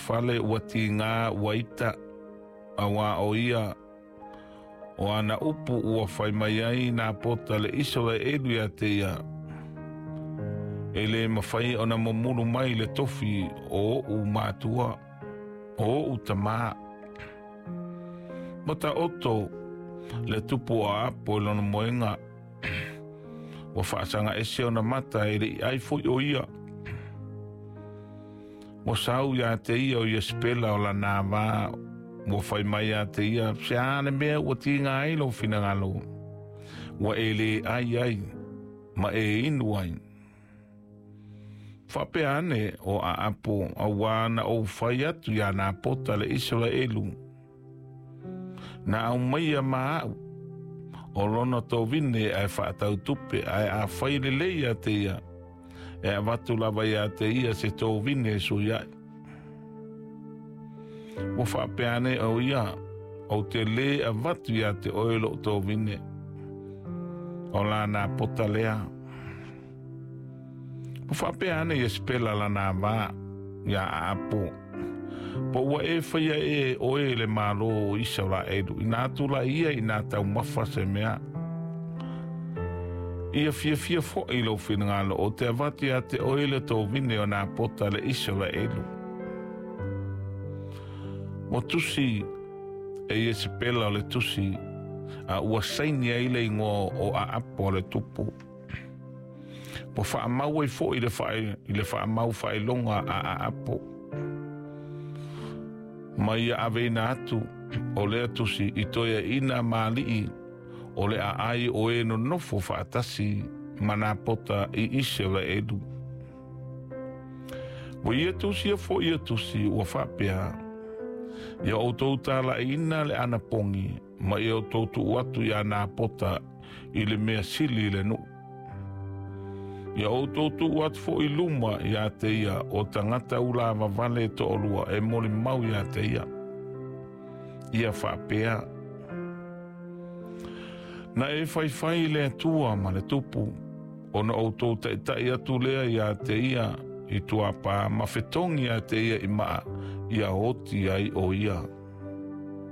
fale ua tigā ua ita, auā o ia, o ana upu ua fai mai ai Napota le Isaraelu iā te ia, E lē mafai ona momulu mai le tofi o oʻu matua, o oʻu tamā. Ua taoto le tupu o Aapo i lona moega, ua faasaga ese ona mata e le i ai foi o ia. Ua sau iā te ia o Iesepela o lana vā, ua fai mai iā te ia, Se a le mea ua tiga ai lou finagalo, ua e lē ai ai, ma e inu ai. Faapea ane o Aapo, auā na ou fai atu iā Napota le Isaraelu, Na aumaia ma aʻu, o lona tovine ae faatau tupe, ae afai lelei iā te ia, e avatu lava iā te ia se tovine e sui ai. Ua faapea ane o ia, Ou te lē avatu iā te oe loʻu tovine, o la Napota lea. Ua faapea ane Iesepela lana vā iā Aapo, Po ua e faia ē oe le Malo o Isaraelu, inā tulai ia inā taumafa se mea. Ia fiafia foʻi lou finagalo ou te avatu iā te oe le tovine o Napota le Isaraelu. Ua tusi e Iesepela o le tusi, a ua saini ai le igoa o Aapo le tupu. Ua faamau ai foʻi le i le faamau faailoga a Aapo. Ma ia aveina atu o lea tusi i toeaiina ma alii o le aai o e nonofo faatasi ma Napota i Isaraelu. Ua ia tusia foʻi ia tusi ua faapea, Ia outou talaiina le anapogi ma ia outou tuu atu iā Napota i le mea sili i le nuu. Ia outou tuu atu foʻi i luma iā te ia o tagata ulavavale e toalua e molimau iā te ia. Ia faapea, Na e faifai i le Atua ma le Tupu, ona outou taitai atu lea iā te ia i tuapā ma fetogi iā te ia i maa, ia oti ai o ia.